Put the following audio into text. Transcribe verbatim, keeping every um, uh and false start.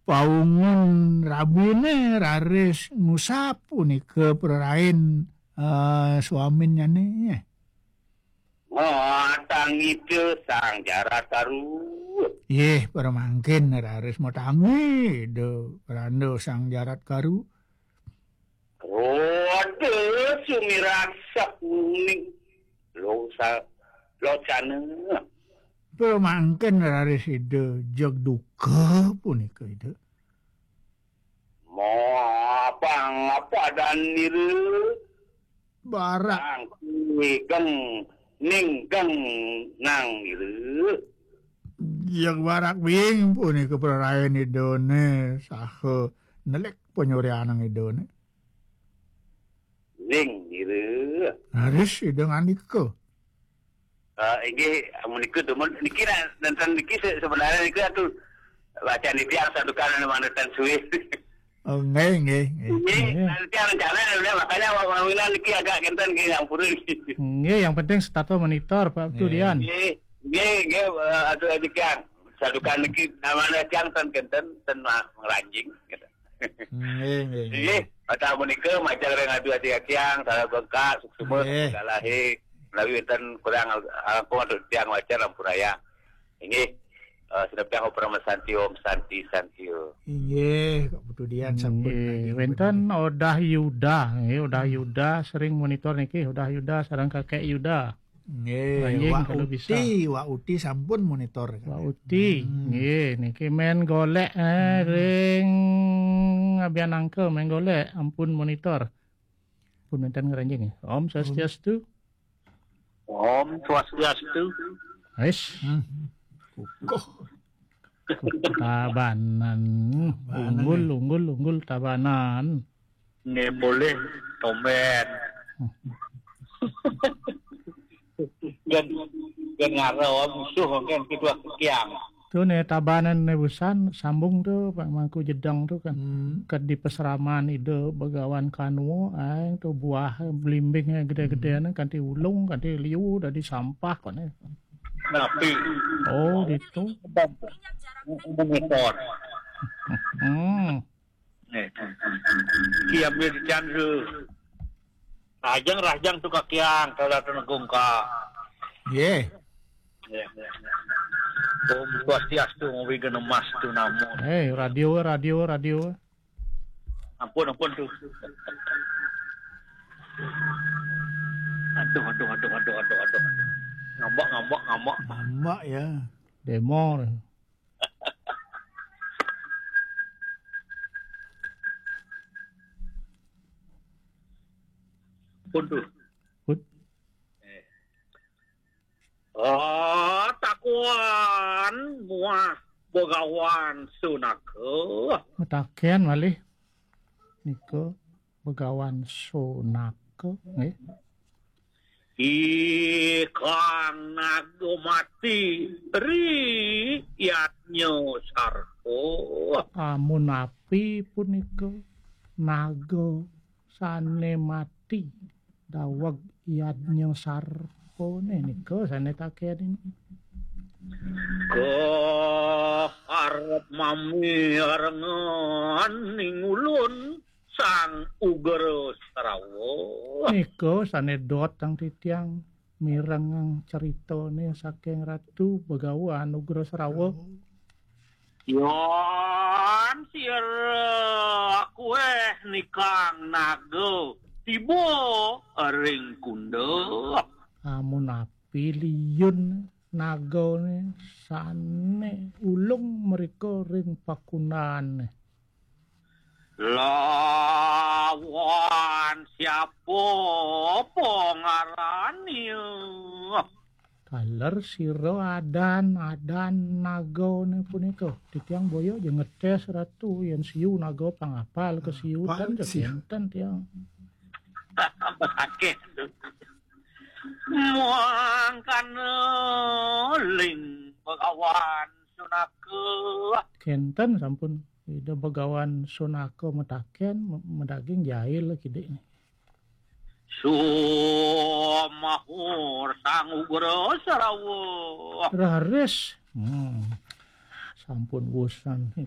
Paungun rabine raris ngusap punika prarain, eh, swaminnyane. Matangita Sang Jarat Karu. Yeh, pramangkin raris matangi Ida Randa Sang Jarat Karu. Roda sumirat sakuning losa-, locana. Pramangkin raris Ida jeg duka punika Ida. Mabang padan nira. Barak. Sang igeng ninggeng nang nira. Jeg barak bing punika prarain Idane saha nelik panyuryanang Idane. Ning nira. Raris Ida ngandika. Eh, inggih, menika dumun niki na-, nenten niki se-, sebenarnya niki atu bacaan titiang santukan anu manten suwih. Oh, nggih, nggih, nggih. Nggih, nggih. Nanti rencana udah makanya wa-, wawinan niki agak kenten nggih, ampun niki. Nggih, yang penting setata monitor, Pak Putu Dian. Nggih, nggih, eh, atuh titiang. Santukan niki namanya tiang ten kenten, ten ma-, ngranjing gitu. Nggih, nggih, nggih. Nggih, patah menika majeng ring adu ati tiang, salah bengkak, suksma, nggih, salah he, menawi wenten kurang langkung atuh tiang wajar ampurayang. Inggih, eh, sineb tiang Om Santi, Om Santi, Santi, Om. Inggih, Pak Putu Dian sampun. Nggih, nggih, wenten bener. Odah Yuda, nggih, Odah Yuda sering monitor niki, Odah Yuda sareng Kakek Yuda. Nggih, Anjing, Wak kalau Uti, bisa. Wak Uti sampun monitor, Wak Uti, hmm, nggih, niki main golek, eh, hmm, ring abian angka main golek, ampun monitor. Pun wenten ngranjing. Om Swastiastu. Om Swastiastu. Wis. Hmm. Kukuh. Tabanan. Tabanan, unggul, ya. Unggul, unggul Tabanan. Nggih, boleh, tumben. Gen, gen ngara musuh kan kedua kekiang. Tu ne Tabanan ne busan sambung tu Pak Mangku Jedang tu kan. Hmm. Ke di pesraman Ida Begawan Kanwa, ai tu buah belimbing gede-gede ne kanti ulung, kanti liu, dadi sampah kone. Napi? Oh, gitu. Monitor. Hmm. Nih. Kiam dia di chance. Rajang, rajang tu kakiang, kalau tu negung ka. Ye. Ya. Om Swastiastu, Om Wigen Emas tu namo. Eh, radio, radio, radio. Ampun, ampun tu. Aduh, aduh, aduh, aduh, aduh, aduh. Ngambak, ngambak, ngambak. Ngambak ya. Demo. Pun tu. Pun. Eh. Ah, takuan muah Begawan Sunaka. Mataken malih nika Begawan Sunaka, nggih. Ikang naga mati ri yadnya sarpa. Amun api punika naga sane mati daweg yadnya sarpane nika sane taken. Ke arep mami arengan ning ulun Sang Ugra Srawa. Nika sane dot tang titiang mirengang critane saking Ratu Begawan Ugra Srawa. Yan sira kueh nikang naga tiba ring kunda. Amun api liun nagane sane ulung mrika ring pakunane. Lawan siapa pangarane? Taler sira adan, adan nagane punika. Titiang boya aja ngetes Ratu yen siu naga pangapal kesiutan. Apal siu? Kenten tiang. Sakit. Mangkana ling Begawan Sunaka. Kenten sampun Ida Begawan Sunaka mataken, me-, medaging jail kidik ni. Sumahur Sang Ugra Srawa. Raris. Hmm. Sampun bosan.